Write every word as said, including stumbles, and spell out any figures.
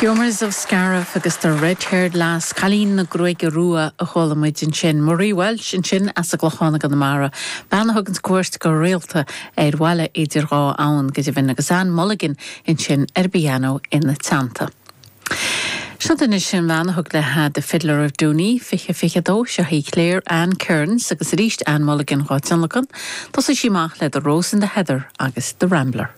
Jomers of Scariff agus the Red-Haired Lass cailín na gruaige rua a chuala muid ansin Marie Walsh ansin as an gClochán i gConamara, bean a thugann cuairt go rialta ar bhaile idir dhá abhainn go deimhin agus Anne Mulligan ansin ar piano ina teannta. Seo duine sin bhean a thug léi The Fiddler of Dooney fiche fiche dó seo í Claire Ann Kearns agus arís Anne Mulligan á tionlacan, Thosaigh sí amach le The Rose in the Heather agus The Rambler.